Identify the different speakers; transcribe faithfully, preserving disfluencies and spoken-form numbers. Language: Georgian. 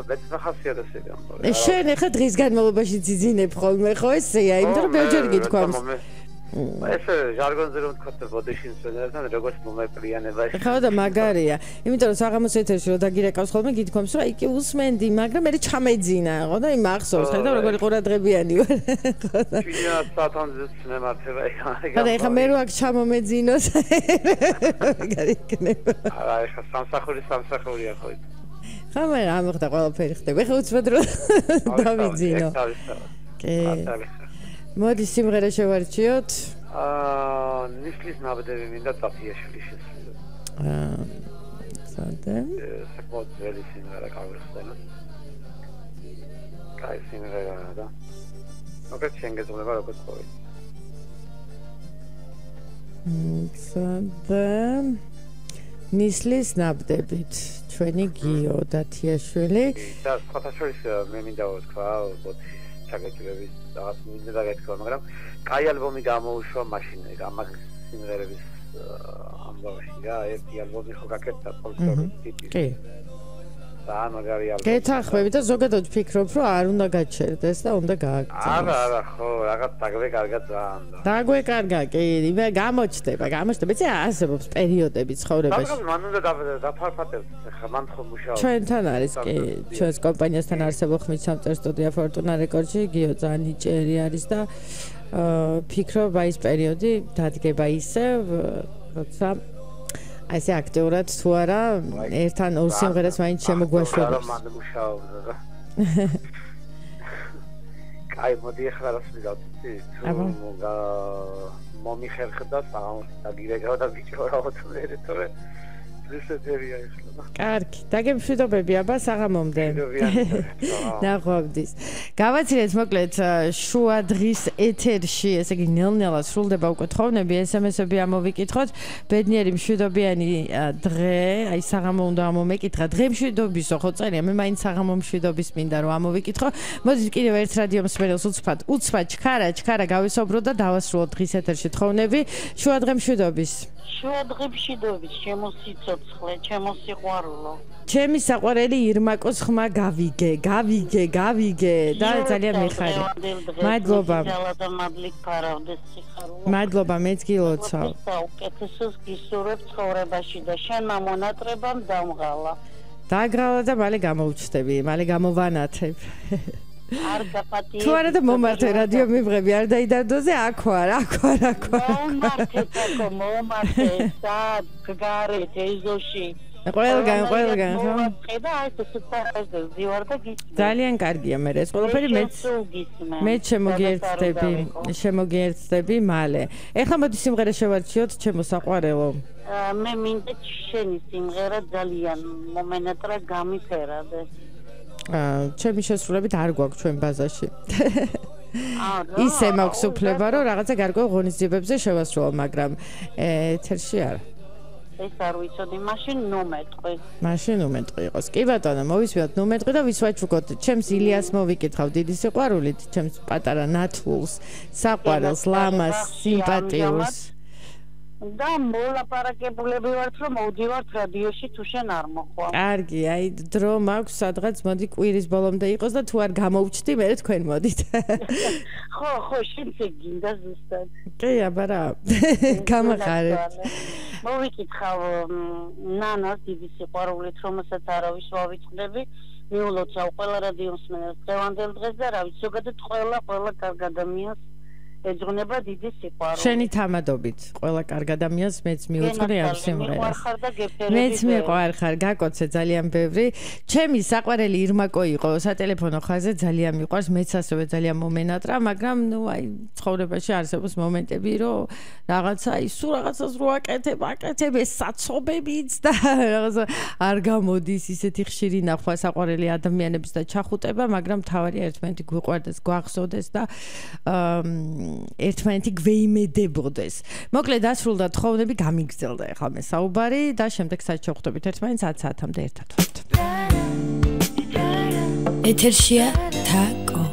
Speaker 1: ბეჭდა ხასიათები ამბობ.
Speaker 2: შენ ახლა დღის განმავლობაში ძიძინებ ხოლმე ხო ესეა, იმიტომ რომ ბევრჯერ გითქვამს.
Speaker 1: ეს ჟარგონზე რომ თქვა ბოდიშინ სვენერთან როგორც მომეპრიანებაში.
Speaker 2: ხო და მაგარია. იმიტომ რომ საღამოს ეთერში რომ დაგირეკავს ხოლმე გითქვამს რომ აი კი უსმენდი, მაგრამ მე ჩამეძინა, ხო და იმ ახსოვს, ხედავ როგორი ყურადღებიანი ვარ. ხო და
Speaker 1: ჩვენია სათანძის მემართება იქა.
Speaker 2: ხო და ეხლა მე რო აქ ჩამომეძინოს. მაგარი იქნება.
Speaker 1: არა, ეხლა სამსახური სამსახურია ხო ის.
Speaker 2: ხო მე რა მოხდა ყველაფერი ხდება. ეხლა უცბად რომ დავიძინო. კი. მოდი სიმღერა შევარჩიოთ.
Speaker 1: აა ნისლის ნაბდები მინდა წაფიაშვილის შესრულება.
Speaker 2: აა ზადე.
Speaker 1: საკმაოდ ძველი სიმღერა გავიხსენოთ. კაი სიმღერა და მოკლედ შენ გეძღვნება როგორც ყოველ.
Speaker 2: ზადე. ნისლის ნაბდებით ჩვენი გიო დათიაშვილი.
Speaker 1: და სხვათაშორის მე მინდა ვთქვა ბოთის ჩაგეჭირების რაღაც მინდა დაგეთქვა, მაგრამ კაი ალბომი გამოუშვა მაშინ ამას სიმღერების ამბავში რა, ერთი ალბომი ხო გაკეთდა ფოლკლორის ტიპის.
Speaker 2: კი.
Speaker 1: და მაგარი ალბომი.
Speaker 2: გეთანხმები და ზოგადად ვფიქრობ, რომ არ უნდა გაჩერდეს და უნდა გააგრძელოს.
Speaker 1: არა, არა, ხო, რაღაც დაგვეკარგა ძალიან.
Speaker 2: დაგვეკარგა, კი, იმე გამოჩნდება, გამოჩნდება. ეს არსებობს პერიოდები ცხოვრებაში.
Speaker 1: მაგრამ მან უნდა დაფარფატებს, ხა მან ხო მუშაობს.
Speaker 2: ჩვენთან არის, კი, ჩვენს კომპანიასთან არსებობს ხმის სამწერ სტუდია Fortuna Records-ში, გიო ძალიან ნიჭიერი არის და ფიქრობ, აი ეს პერიოდი დადგება ისევ, როცა აი ესე აქტიურად თუ არა ერთთან ორ სიმღერას მაინც შემოგვაშველებს.
Speaker 1: მან მუშაობდა და კაი მოდი ახლა რას ვიგავთ იცი? თუ მომიხერხდა საღამოს დაგირეკავ და ბიჭორავთ მე თორე რუსეთერია ეხლა. კარგი, დაგემშვიდობები აბა საღამომდე. ნახვამდის. გავაცილეთ მოკლედ შუა დღის ეთერში, ესე იგი ნელ-ნელა სრულდება უკვე თხოვნები, ესემესები ამოვიკითხოთ. ბედნიერი მშვიდობიანი დღე, აი საღამო უნდა ამომეკითხა. დღე მშვიდობისო, ხო წერია, მე მაინც საღამო მშვიდობის მინდა რომ ამოვიკითხო. მოდით კიდევ ერთ რადიო მსმენელს უცბად, უცბად ჩქარა, ჩქარა გავისაუბრო და დავასრულოთ დღის ეთერში თხოვნები. შუა დღე მშვიდობის.
Speaker 3: შუა დღე მშვიდობის, შემოსიცოცხლე, შემოსიყვარულო.
Speaker 2: ჩემი საყვარელი ირმაკოს ხმა გავიგე, გავიგე, გავიგე და ძალიან მიხარი. მადლობა. მადლობა, მეც გილოცავ.
Speaker 3: საუკეთესოს გისურვებ ცხოვრებაში და შენ მომონატრებამ დამღალა.
Speaker 2: დაგრავა და მალე გამოვჩნდები, მალე გამოვანათებ.
Speaker 3: არ გაპატიე.
Speaker 2: თუ არა და მომართე რადიო მიბრები არ დაიდარდოზე, აქ ვარ, აქ ვარ, აქ ვარ.
Speaker 3: მომართე, თქო, მომართე, სად გგარეთ ეზოში.
Speaker 2: ყველგან, ყველგან, ხო?
Speaker 3: ხედა აი ეს სუპერზე ზივარ და გისმენ.
Speaker 2: ძალიან კარგია მე ეს ყველაფერი მეც მეც შემოგიერთდები, შემოგიერთდები მალე. ეხლა მოდი სიმღერა შევარჩიოთ, ჩემო საყვარელო.
Speaker 3: მე მინდა შენი სიმღერა ძალიან მომენატრა გამიფერადე.
Speaker 2: აა ჩემი შესრულებით არ გვაქვს ჩვენ ბაზაში. ისე მაქვს უფლება რომ რაღაცა გარკვეულ ღონისძიებებზე შევასრულო, მაგრამ ეთერში არა.
Speaker 3: ეს არ ვიცოდი, მაშინ ნუმეტყვი.
Speaker 2: მაშინ ნუმეტყვი იყოს. კი ბატონო, მოვისმენთ ნუმეტყვი და ვისვაჩუქოთ. ჩემს ილიას მოვიკითხავ დიდი სიყვარულით, ჩემს პატარა ნათლულს, საყვარელს, ლამას, სიმპათიურს. და მოლაპარაკებულები ვართ, რომ მოვდივართ რადიოში თუ შენ არ მოხვალ. კარგი, აი დრო მაქვს სადღაც მოდი კვირის ბოლომდე იყოს და თუ არ გამოვჩდი, მე თქვენ მოდით.
Speaker 3: ხო, ხო, შენც გინდა ზუსტად.
Speaker 2: კი, აბა რა. გამახარეთ.
Speaker 3: მოვიკითხავ ნანას დიდი სიყვარულით, რომელსაც არავის ვავიწყდები. მიულოცავ ყველა რადიო მსმენელს დღევანდელ დღეს და რა ვიცი, ზოგადად ყველა ყველა კარგ ადამიანს ეძღვნება დიდი სიყვარული. შენი
Speaker 2: თამადობით ყველა კარგ ადამიანს მეც მიუძღვნე ამ სიმღერას. მეც მიყვარხარ, გაკოცე ძალიან ბევრი. ჩემი საყვარელი ირმაკო იყო სატელეფონო ხაზზე, ძალიან მიყვარს, მეც ასევე ძალიან მომენატრა, მაგრამ ნუ აი ცხოვრებაში არსებობს მომენტები, რომ რაღაცა ის სულ რაღაცას რო აკეთებ, აკეთებ ეს საცობებიც და რაღაცა არ გამოდის ისეთი ხშირი ნახვა საყვარელი ადამიანების და ჩახუტება, მაგრამ თავარია ერთმანეთი გვიყვარდეს, გვახსოვდეს და აა ერთმანეთი გვეიმედებოდეს. მოკლედ დასრულდა თხოვნები, გამიგრძელდა ახლა მე საუბარი და შემდეგ საათში ვხვდებით ერთმანეთს ათ საათამდე ერთად ვართ. ეთერშია თაკო